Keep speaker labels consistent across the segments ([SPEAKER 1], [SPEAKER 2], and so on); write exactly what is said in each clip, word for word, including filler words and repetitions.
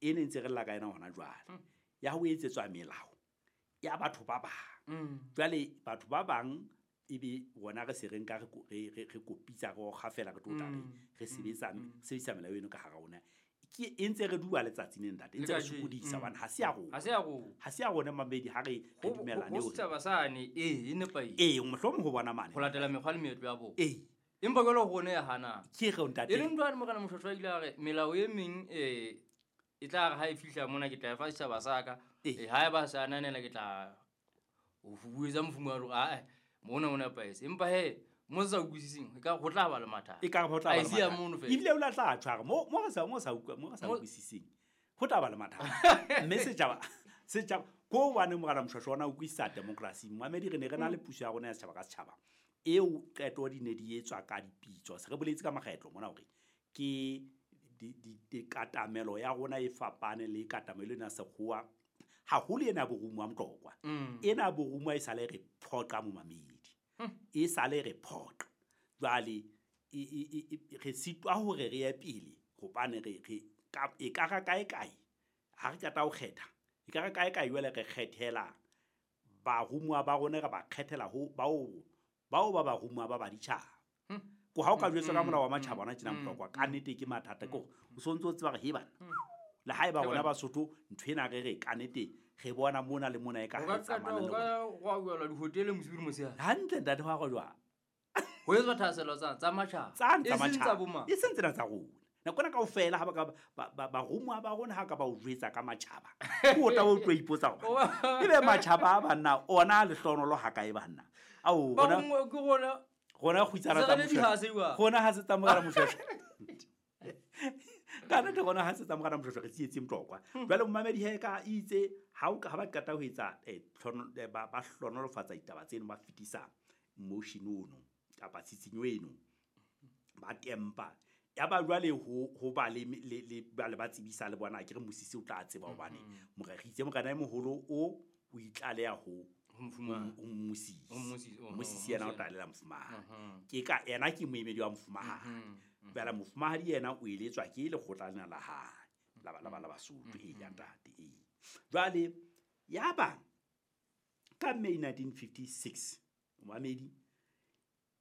[SPEAKER 1] E ne ntse re lla ka yena hona jwale. Ya ho etsetswa melao ya batho ba bang. Jwale batho ba bang ebe rona re se re nka re re re kopitsa re kgafela re tlo tla re re sebetsa sebedisa melao eno ka hara rona. Ke e ntse re dua letsatsi le ntate, e ntse re sokodisa hobane ha se ya rona.
[SPEAKER 2] Ha se ya rona.
[SPEAKER 1] Ha se ya rona mamedi ha re re dumellane
[SPEAKER 2] hore setjhaba sane e e nepahetse.
[SPEAKER 1] Ee, mohlomong ho bona mane.
[SPEAKER 2] Ho latela mekgwa le meetlo ya bona.
[SPEAKER 1] Ee.
[SPEAKER 2] Empa jwale rona ya hana.
[SPEAKER 1] Ke re ntate.
[SPEAKER 2] E leng jwale Morena Moshoeshoe a ile a re melao e meng eh e tla re ha e fihla mona ke tla e fa setjhaba sa ka.
[SPEAKER 1] Ee.
[SPEAKER 2] Ha eba sa ananela ke tla o fubuetsa mofumahadi hore ae mona o nepahetse. Empa he mo sa utlwisiseng e ka ho tla ba le mathata.
[SPEAKER 1] E ka ho tla ba le
[SPEAKER 2] A e siya
[SPEAKER 1] mathata.
[SPEAKER 2] mono fela.
[SPEAKER 1] Ebile o la tla tshwara mo mo re sa mo sa utlwa mo re sa
[SPEAKER 2] Mo
[SPEAKER 1] utlwisiseng. Ho tla ba le mathata. Mme setjhaba setjhaba ko hobane Morena Moshoeshoe ona o utlwisisa democracy. Mamedi re ne re na le puso ya rona ya setjhaba ka setjhaba. Eo qeto di ne di etswa ka dipitso. Se re boletse ka makgetlo mona hore ke di di di katamelo ya rona e fapane le katamelo ena sekgowa. Haholo ena borumuwa Motlokwa.
[SPEAKER 2] Mm.
[SPEAKER 1] Ena borumuwa e sale re phoqa momamedi.
[SPEAKER 2] Hmm.
[SPEAKER 1] E sale re phoqa. Jwale e, e, e, e, re sitwa hore re ye pele hobane re, re ka, e ka ra kae kae ha re qeta ho kgetha. E ka ra kae kae jwale re kgethela barumuwa ba rona, re ba kgethela ho bao, bao ba barumuwa ba baditjhaba.
[SPEAKER 2] Hmm.
[SPEAKER 1] Ko ha o ka jwetswa ka
[SPEAKER 2] Hmm.
[SPEAKER 1] molao wa matjhaba hona tjena
[SPEAKER 2] Hmm.
[SPEAKER 1] Motlokwa, ka nnete ke mathata ke hore o sontso o tseba hore he bana. Le haeba
[SPEAKER 2] He
[SPEAKER 1] rona
[SPEAKER 2] bana.
[SPEAKER 1] Basotho ntho ena re re ka nnete re bona mona le mona e ka
[SPEAKER 2] Ho
[SPEAKER 1] ha
[SPEAKER 2] ka
[SPEAKER 1] e tsamaya
[SPEAKER 2] qetwa,
[SPEAKER 1] le
[SPEAKER 2] ho ka
[SPEAKER 1] rona.
[SPEAKER 2] gwa buelwa dihoteleng bosiu le motshehare.
[SPEAKER 1] Hantle ntate wa go jwang?
[SPEAKER 2] Ho etswa thahasello tsa, tsa matjhaba.
[SPEAKER 1] Tsa tsa
[SPEAKER 2] E seng tsa
[SPEAKER 1] matjhaba.
[SPEAKER 2] bo mang?
[SPEAKER 1] E seng tsena tsa rona. Nako ena kaofela ha ba ka ba, ba, barumuwa ba rona ha ka ba o jwetsa ka matjhaba. Ke o tla o tlo ipotsa hore ebe matjhaba a banna ona a lehlohonolo ha kae banna. Ao,
[SPEAKER 2] Ba
[SPEAKER 1] rona
[SPEAKER 2] bongwe ke rona.
[SPEAKER 1] Rona kgutsana
[SPEAKER 2] Se
[SPEAKER 1] tsa
[SPEAKER 2] re le
[SPEAKER 1] Moshoeshoe.
[SPEAKER 2] dihase jwang?
[SPEAKER 1] Rona ha se tsa Morena Moshoeshoe. Ka nnete rona ha se tsa Morena Moshoeshoe re tsietse Motlokwa. Jwale momamedi he ka itse ha o ka ha ba qeta ho etsa, eh, tlhono, eh, ba, ba hlonolofatsa ditaba tseno, ba fetisa motion ono kapa tshitshinyo eno, ba tempa. Ya ba jwale ho, ho ba le, le, le, ba le ba tsebisa le bona, ke re musisi o tla tseba hobane
[SPEAKER 2] Mm-hmm.
[SPEAKER 1] morena, re itse morena e moholo o, o itlaleha ho
[SPEAKER 2] Ho mofumahadi.
[SPEAKER 1] ho mmusisi.
[SPEAKER 2] Ho mmusisi, oh,
[SPEAKER 1] Mmusisi yena o
[SPEAKER 2] mmusisi.
[SPEAKER 1] tla lela mofumahadi.
[SPEAKER 2] Mm-hmm.
[SPEAKER 1] Ke ka yena ke moemedi wa mofumahadi.
[SPEAKER 2] Mm-hmm.
[SPEAKER 1] Jwale mofumahadi yena o eletswa ke lekgotla lena la hae, la ba, la ba, la Basotho, ee, ya ntate, ee. Jwale ya ba ka May nineteen fifty-six, momamedi,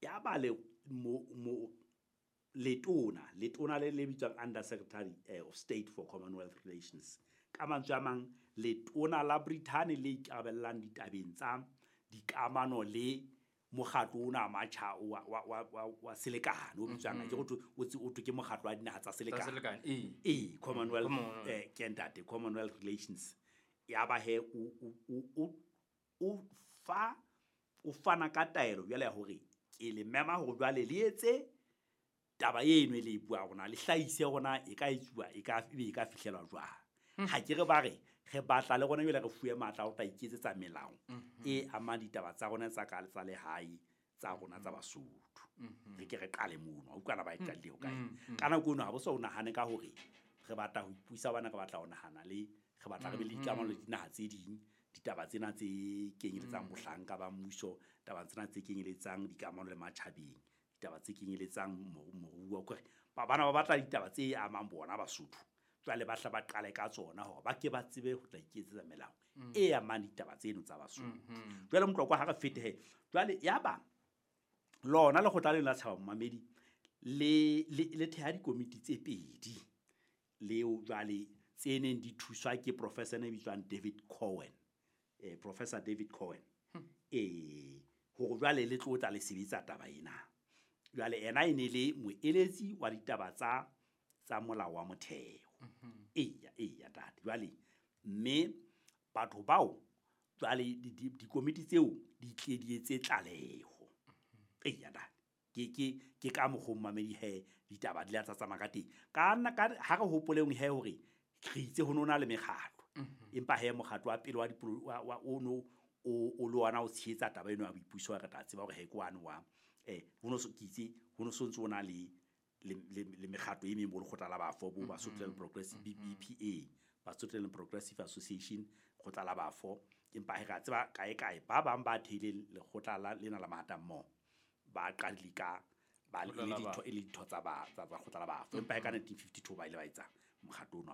[SPEAKER 1] ya ba le mo, mo, letona, letona le le bitswang Under Secretary, eh, of State for Commonwealth Relations. Ka mantswe a mang, letona la Britain le ikarabellang ditabeng tsa dikamano le mokgatlo ona wa matjha wa, wa, wa, wa, wa selekane, o bitswang,
[SPEAKER 2] Mm-hmm.
[SPEAKER 1] ke ho thwe, o tse, o thwe ke mokgatlo wa dinaha tsa
[SPEAKER 2] Tsa
[SPEAKER 1] selekane.
[SPEAKER 2] selekane, ee.
[SPEAKER 1] Ee, Commonwealth,
[SPEAKER 2] Commonwealth.
[SPEAKER 1] eh, ke ntate, Commonwealth Relations. Ya ba he, o, o, o, o, o fa, o fana ka taelo jwale ya hore ke le mema hore jwale le etse taba eno e le e buang rona, le hlahise rona e ka etsuwa, e ka, ebe e ka fihlelwa jwang.
[SPEAKER 2] Hmm.
[SPEAKER 1] Ha ke re ba re, re batla le rona jwale re fuwe matla a ho tla iketsetsa melao
[SPEAKER 2] Mm-hmm.
[SPEAKER 1] e amang ditaba tsa rona tsa ka tsa lehae, tsa rona tsa Basotho.
[SPEAKER 2] Mm-hmm.
[SPEAKER 1] Re ke re qale mono, ha utlwana ba e qadile ho kae.
[SPEAKER 2] Mm-hmm.
[SPEAKER 1] Ka nako eno ha bo so nahane ka hore re batla ho ipusa bana, re batla ho nahana le, re batla re be le
[SPEAKER 2] Mm-hmm.
[SPEAKER 1] dikamano le dinaha tse ding, ditaba tsena tse kenyeletsang
[SPEAKER 2] Mm-hmm.
[SPEAKER 1] bohlanka ba mmuso, taba tsena tse kenyeletsang dikamano le matjhabeng, ditaba tse kenyeletsang moru-, moruo, ke hore ba bana ba batla ditaba tse amang bona Basotho. Jwale ba hla ba qale ka tsona hore ba ke ba tsebe ho tla iketsetsa melao
[SPEAKER 2] Mm.
[SPEAKER 1] e amang ditaba tseno tsa Basotho.
[SPEAKER 2] Mm-hmm.
[SPEAKER 1] Jwale Motlokwa ha re fete he. Jwale ya ba lona lekgotla lena la setjhaba momamedi le, le, le theha dikomiti tse pedi leo jwale tse neng di thuswa ke professor e bitswang David Cohen. Eh, Professor David Cohen.
[SPEAKER 2] Hmm.
[SPEAKER 1] Eh, hore jwale le tlo tla le sebetsa taba ena. Jwale ena e ne le moeletsi wa ditaba tsa, tsa molao wa motheo.
[SPEAKER 2] Mm-hmm.
[SPEAKER 1] Eya, eya, ntate. Jwale mme batho bao jwale di, di, dikomiti tseo di tle di etse tlaleho.
[SPEAKER 2] Mm-hmm.
[SPEAKER 1] Eya, ntate. Ke, ke, ke ka mokgwa momamedi he ditaba di la tsa tsamaya ka teng. Ka nna, ka, ha re hopoleng he hore re itse ho nona le mekgatlo.
[SPEAKER 2] Mm-hmm.
[SPEAKER 1] Empa he mokgatlo wa pele wa dipolo, wa, wa, o no, o, o le ona o tshehetsa taba eno ya boipuso, re tla tseba hore he ke wane wa, eh, ho no so, ke itse, ho no so ntse o na le, le, le, le mekgatlo e meng bo lekgotla la bafo, bo Basotho
[SPEAKER 2] Mm-hmm.
[SPEAKER 1] Progressive, B,
[SPEAKER 2] Mm-hmm.
[SPEAKER 1] B P A, Basotho Land Progressive Association, lekgotla la bafo. Empa he re a tseba kae kae ba bang ba theileng lekgotla la, lena la Mahatammoho, ba qadile ka, ba le
[SPEAKER 2] Lekgotla la
[SPEAKER 1] ditho,
[SPEAKER 2] bafo.
[SPEAKER 1] e le ditho tsa ba, tsa, tsa lekgotla la bafo. Empa he ka nineteen fifty-two ba ile ba etsa mokgatlo ono.